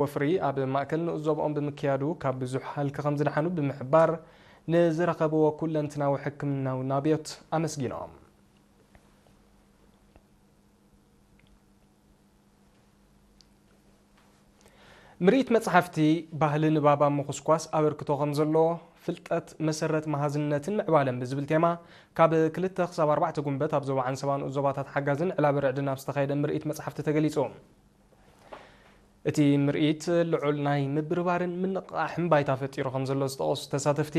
ወፍሪ ኣብ ማእከል ንኡስ ዞባኦም ብምክያዱ ካብ ብዙሕ ሃልኪ ከም ዝደሓኑ ብምሕባር፣ ንዝረኸብዎ ኩለንትናዊ ሕክምናዊ ናብዮት ኣመስጊኖም። ምርኢት መጽሓፍቲ ባህሊ ንባብ ኣብ ምኹስኳስ ኣበርክቶ ከም ዘለዎ፣ ፍልጠት መሰረት መሃዝነትን ምዕባለን ብዝብል ቴማ፣ ካብ ክልተ ክሳብ ኣርባዕተ ጉንበት ኣብ ዞባ ዓንሰባ ንኡስ ዞባታት ሓጋዝን ዕላብ ርዕድን ኣብ ዝተኻየደ ምርኢት መጽሓፍቲ ተገሊጹ። እቲ ምርኢት ልዑል ናይ ምብርባርን ምንቕቓሕን ባይታ ፈጢሩ ከም ዘሎ ዝጠቐሱ ተሳተፍቲ፣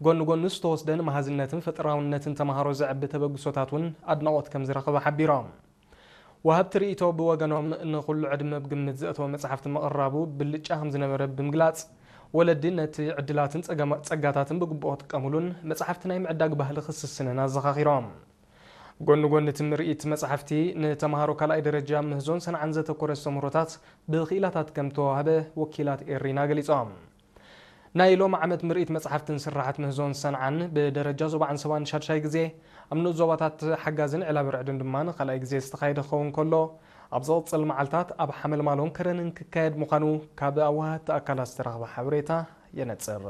ጎኒ ጎኒ ዝተወስደ ንመሃዝነትን ፈጠራውነትን ተምሃሮ ዘዕቢ ተበግሶታት እውን ኣድናቖት ከም ዝረኸበ ሓቢሮም። ወሃብቲ ርእይቶ ብወገኖም፣ ንኹሉ ዕድመ ብግምት ዘእተወ መጽሓፍቲ ምቕራቡ ብልጫ ከም ዝነበረ ብምግላጽ፣ ወለዲ ነቲ ዕድላትን ጸገማ-፣ ጸጋታትን ብግቡእ ክጥቀሙሉን መጽሓፍቲ ናይ ምዕዳግ ባህሊ ክስስንን ኣዘኻኺሮም። ጎኒ ጎኒ እቲ ምርኢት መጽሓፍቲ፣ ንተምሃሮ ካልኣይ ደረጃ ምህዞን ሰንዓን ዘተኮረ ኣስተምህሮታት ብክኢላታት ከም ተዋህበ ወኪላት ኤሪና ገሊጾም። ናይ ሎም ዓመት ምርኢት መጽሓፍትን ስራሓት ምህዞን ሰንዓን ብደረጃ ዞባ ዓንሰባን ሻድሻይ ግዜ ኣብ ንኡስ ዞባታት ሓጋዝን ዕላብ ርዕድን ድማ ንኻልኣይ ግዜ ዝተኻየደ ክኸውን ከሎ፣ ኣብ ዝቕጽል መዓልታት ኣብ ሓመልማሎን ከረንን ክካየድ ምዃኑ ካብ ኣወሃህቲ ኣካላት ዝተረኽበ ሓበሬታ የነጽር።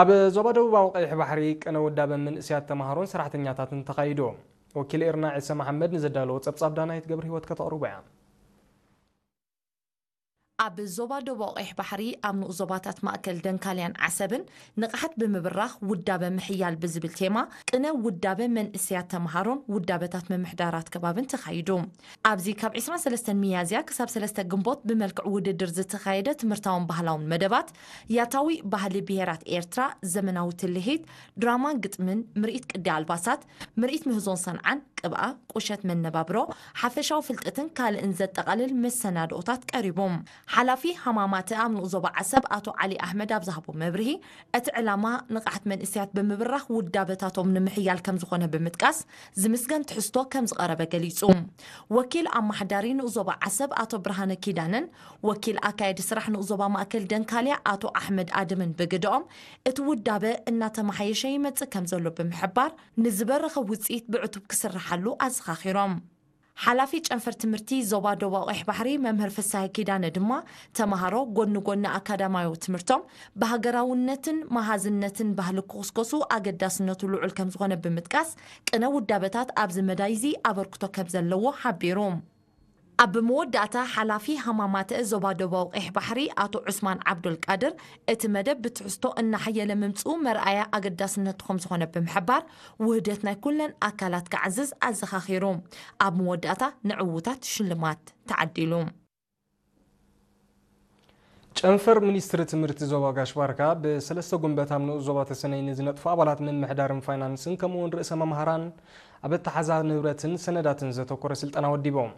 ኣብ ዞባ ደቡባዊ ቀይሕ ባሕሪ ቅነ ውዳበ መንእሰያት ተምሃሮን ሰራሕተኛታትን ተኻይዱ። ወኪል ኤርና ዒሰ መሓመድ ንዘዳለዎ ጸብጻብ ዳናይት ገብረ ህይወት ከተቕርቦ እያ። ኣብ ዞባ ደቡብ ቀይሕ ባሕሪ ኣብ ንኡስ ዞባታት ማእከል ደንካልያን ዓሰብን ንቕሓት ብምብራኽ ውዳበ ምሕያል ብዝብል ቴማ ቅነ ውዳበ መንእሰያት ተምሃሮን ውዳበታት ምምሕዳራት ከባብን ተኻይዱ። ኣብዚ ካብ ዕስራን ሰለስተን ሚያዝያ ክሳብ ሰለስተ ግንቦት ብመልክዕ ውድድር ዝተኻየደ ትምህርታውን ባህላውን መደባት፣ ያታዊ ባህሊ ብሄራት ኤርትራ፣ ዘመናዊ ትልሂት፣ ድራማን ግጥምን፣ ምርኢት ቅዲ ኣልባሳት፣ ምርኢት ምህዞን ሰንዓን፣ ቅብኣ፣ ቁሸት መነባብሮ፣ ሓፈሻዊ ፍልጠትን ካልእን ዘጠቓልል መሰናድኦታት ቀሪቡ። ሓላፊ ሃማማተ ኣብ ንኡስ ዞባ ዓሰብ ኣቶ ዓሊ ኣሕመድ ኣብ ዝሃቦ መብርሂ፣ እቲ ዕላማ ንቕሓት መንእሰያት ብምብራኽ ውዳበታቶም ንምሕያል ከም ዝኾነ ብምጥቃስ፣ ዝምስገን ትሕዝቶ ከም ዝቐረበ ገሊጹ። ወኪል ኣማሓዳሪ ንኡስ ዞባ ዓሰብ ኣቶ ብርሃነ ኪዳነን ወኪል ኣካየዲ ስራሕ ንኡስ ዞባ ማእከል ደንካልያ ኣቶ ኣሕመድ ኣደምን ብግደኦም፣ እቲ ውዳበ እናተመሓየሸ ይመጽእ ከም ዘሎ ብምሕባር፣ ንዝበረኸ ውጽኢት ብዕቱብ ክስርሓሉ ኣዘኻኺሮም። ሓላፊ ጨንፈር ትምህርቲ ዞባ ደቡብ ቀይሕ ባሕሪ መምህር ፍስሃ ኪዳነ ድማ፣ ተምሃሮ ጎኒ ጎኒ ኣካዳማያዊ ትምህርቶም ብሃገራውነትን መሃዝነትን ባህሊ ክኹስኮሱ ኣገዳስነቱ ልዑል ከም ዝኾነ ብምጥቃስ፣ ቅነ ውዳበታት ኣብዚ መዳይ እዚ ኣበርክቶ ከም ዘለዎ ሓቢሩ። ኣብ መወዳእታ፣ ሓላፊ ሃማማተ ዞባ ደቡብ ቀይሕ ባሕሪ ኣቶ ዑስማን ዓብዱል ቃድር፣ እቲ መደብ ብትሕዝቶ እናሓየለ ምምጽኡ መርኣያ ኣገዳስነቱ ከም ዝኾነ ብምሕባር፣ ውህደት ናይ ኩለን ኣካላት ክዓዝዝ ኣዘኻኺሩ። ኣብ መወዳእታ፣ ንዕዉታት ሽልማት ተዓዲሉ። ጨንፈር ሚኒስትሪ ትምህርቲ ዞባ ጋሽ ባርካ ብሰለስተ ጉንበት ኣብ ንኡስ ዞባ ተሰነይ ንዝነጥፉ ኣባላት ምምሕዳርን ፋይናንስን ከምኡውን ርእሰ መምሃራን ኣብ ኣተሓዛ ንብረትን ሰነዳትን ዘተኮረ ስልጠና ወዲቦም።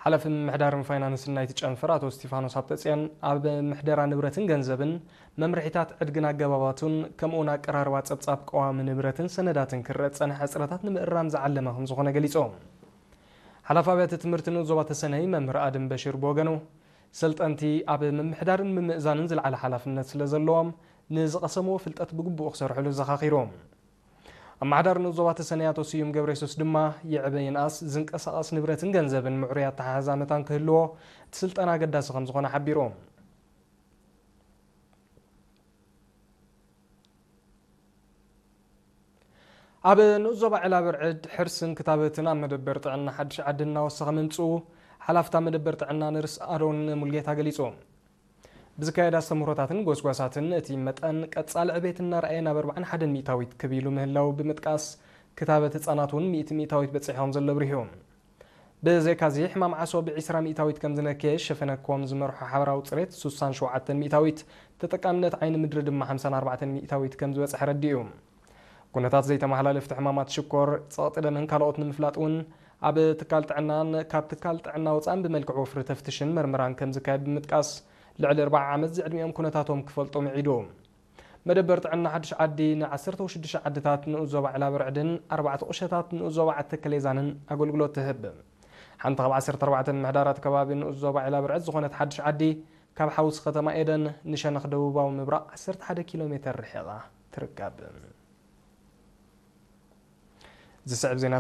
ሓላፊ ምምሕዳርን ፋይናንስን ናይቲ ጨንፈር ኣቶ እስቲፋኖስ ሃብተጽዮን፣ ኣብ ምሕደራ ንብረትን ገንዘብን፣ መምርሒታት ዕድግን ኣገባባቱን፣ ከምኡውን ኣቀራርባ ጸብጻብ ቀዋሚ ንብረትን ሰነዳትን ክረአ ዝጸንሐ ሕጽረታት ንምእራም ዝዓለመ ከም ዝኾነ ገሊጾም። ሓላፊ ኣብያተ ትምህርቲ ንኡስ ዞባ ተሰነይ መምህር ኣድም በሽር ብወገኑ፣ ሰልጠንቲ ኣብ ምምሕዳርን ምምእዛንን ዝለዓለ ሓላፍነት ስለ ዘለዎም፣ ንዝቐሰምዎ ፍልጠት ብግቡእ ክሰርሕሉ ዘኻኺሩ። ኣመሓዳሪ ንኡስ ዞባ ተሰነይ ኣቶ ስዩም ገብረየሱስ ድማ፣ ይዕበ ይንኣስ ዝንቀሳቐስ ንብረትን ገንዘብን ምዕሩይ ኣተሓሕዛ መታን ክህልዎ እቲ ስልጠና ኣገዳሲ ከም ዝኾነ ሓቢሩ። ኣብ ንኡስ ዞባ ዕላብ ርዕድ ሕርስን ክታበትን ኣብ መደበር ጥዕና ሓድሽ ዓዲ እናወሰኸ ምምጽኡ ሓላፍታ መደበር ጥዕና ነርስ ኣሮን ሙልጌታ ገሊጹ። ብዝካየድ ኣስተምህሮታትን ጎስጓሳትን እቲ መጠን ቀጻሊ ዕቤት እናረኣየ ናብ ኣርባዓን ሓደን ሚእታዊት ክብ ኢሉ ምህላው ብምጥቃስ፣ ክታበት ህጻናት እውን ሚእቲ ሚእታዊት በጺሑ ከም ዘሎ ኣብሪሁ። ብዘይካዚ፣ ሕማም ዓሶ ብ ዒስራ ሚእታዊት ከም ዝነከየ፣ ሸፈነ ኮም ዝመርሖ ሓበራዊ ጽሬት ሱሳን ሸውዓተን ሚእታዊት፣ ተጠቃምነት ዓይኒ ምድሪ ድማ ሓምሳን ኣርባዕተን ሚእታዊት ከም ዝበጽሐ ኣረዲኡ። ኩነታት ዘይተመሓላለፍቲ ሕማማት ሽኮር፣ ጸቕጢ ደምን ካልኦት ንምፍላጥ እውን ኣብ ትካል ጥዕናን ካብ ትካል ጥዕና ወጻእን ብመልክዕ ወፍሪ ተፍትሽን መርመራን ከም ዝካየድ ብምጥቃስ፣ ልዕሊ ኣርብዓ ዓመት ዝዕድሚኦም ኩነታቶም ክፈልጡ ምዒዱ። መደበር ጥዕና ሓድሽ ዓዲ ን ዓሰርተ ሽዱሽተ ዓድታት ንኡስ ዞባ ዕላብ ርዕድን ኣርባዕተ ቁሸታት ንኡስ ዞባ ዓዲ ተከሌዛንን ኣገልግሎት ትህብ። ሓንቲ ካብ ዓሰርተ ኣርባዕተ ምምሕዳራት ከባቢ ንኡስ ዞባ ዕላብ ርዕድ ዝኾነት ሓድሽ ዓዲ፣ ካብ ሓውሲ ከተማ ኤደን ንሸነኽ ደቡባዊ ምብራቕ ዓሰርተ ሓደ ኪሎ ሜተር ርሒቓ ትርከብ። ዝስዕብ ዜና